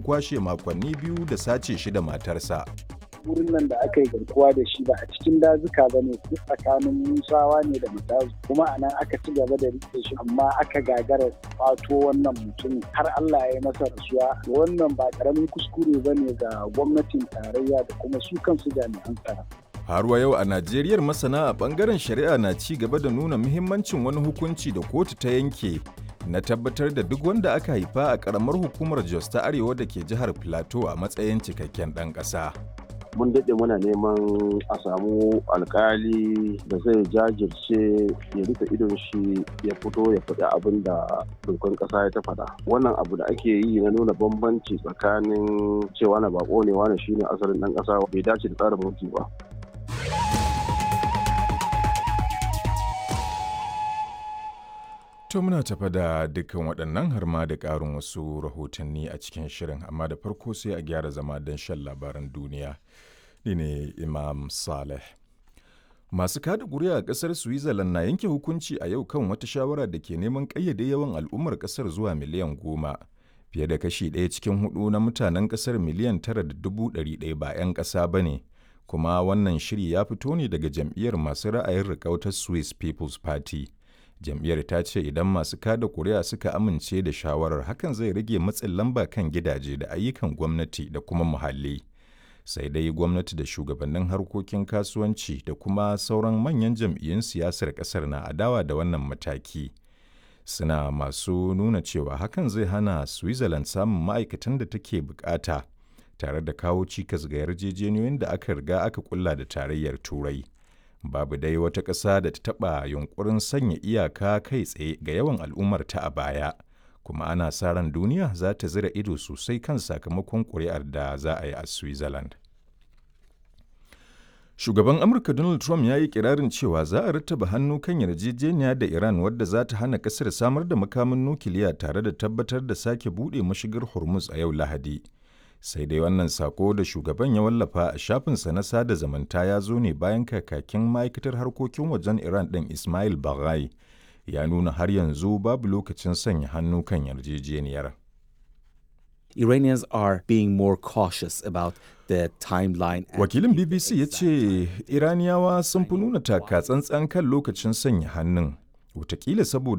kwashe makonni 2 da sace shi da matarsa. Wurin nan da aka yi garkuwa da shi ba a cikin dazuka ba ne, tsakanin Musawa ne da Matazu, kuma a nan aka ci gaba da rike shi, amma aka gagara kwato wannan mutumin har Allah ya yi masa rasuwa. Wannan ba karamin kuskure ba ne ga gwamnatin tarayya da kuma su kansu jami'an tsaro. Har wa yau a Najeriyar, masana a bangaren shari'a na ci gaba da nuna muhimmancin wani hukunci da kotu ta yanke na tabbatar da duk wanda aka haifa a karamar hukumar Jos ta Arewa da ke jihar Plateau a matsayin cikakken ɗan ƙasa. Mun daɗe muna neman a samu alkali da zai jajirce ya rufe idon shi ya fito ya faɗi abin da dokan ƙasa ya ta faɗa. Wannan abu da ake yi na nuna bambanci tsakanin cewa na bako ne, wani shine asalin ɗan ƙasa, bai dace da tsarin mulki ba. To, muna tafa da dukkan waɗannan har ma da ƙarin wasu rahotanni a cikin shirin, amma da farko sai a gyara zama don shan labaran duniya. Ni ne Imam Saleh. Masu kada ƙuri'a a ƙasar Switzerland na yanke hukunci a yau kan wata shawara da ke neman ƙayyade yawan al'ummar ƙasar zuwa miliyan 10. Fiye da kashi ɗaya cikin hudu na mutanen ƙasar 9.1 miliyan ba 'yan ƙasa ba ne, kuma wannan shiri ya fito ne daga jam'iyyar masu ra'ayin riƙau ta Swiss People's Party. Jam'iyyar ta ce idan masu kada kuri'a suka amince da shawarar, hakan zai rage matsin lamba kan gidaje da ayyukan gwamnati da kuma muhalli. Sai dai gwamnati da shugabannin harkokin kasuwanci da kuma sauran manyan jam'iyyun siyasar kasar na adawa da wannan mataki, suna masu nuna cewa hakan zai hana Switzerland samun ma'aikatan da take bukata tare da kawo cikas ga yarjejeniyoyin da aka riga aka kulla da Tarayyar Turai. Babu dai wata ƙasa da ta taɓa yunkurin sanya iyaka kai tsaye ga yawan al'ummarta a baya, kuma ana sa ran duniya za ta zira ido sosai kan sakamakon ƙuri'ar da za a yi a Switzerland. Shugaban Amurka Donald Trump ya yi kirarin cewa za a rattaba hannu kan yarjejeniya da Iran wadda za ta hana ƙasar samar da makamin nukiliya tare da tabbatar da sake buɗe mashigar Hormuz a yau Lahadi. Sai dai wannan sako da shugaban ya wallafa a shafinsa na sada zamanta ya zo ne bayan kakakin ma'aikatar harkokin wajen Iran ɗin, Ismail Baghai, ya nuna har yanzu babu lokacin sanya hannu kan yarjejeniyar. Iranians are being more cautious about the timeline. Wakilin BBC ya ce Iraniyawa sun fi nuna taka tsantsan kan lokacin sanya hannun, watakila saboda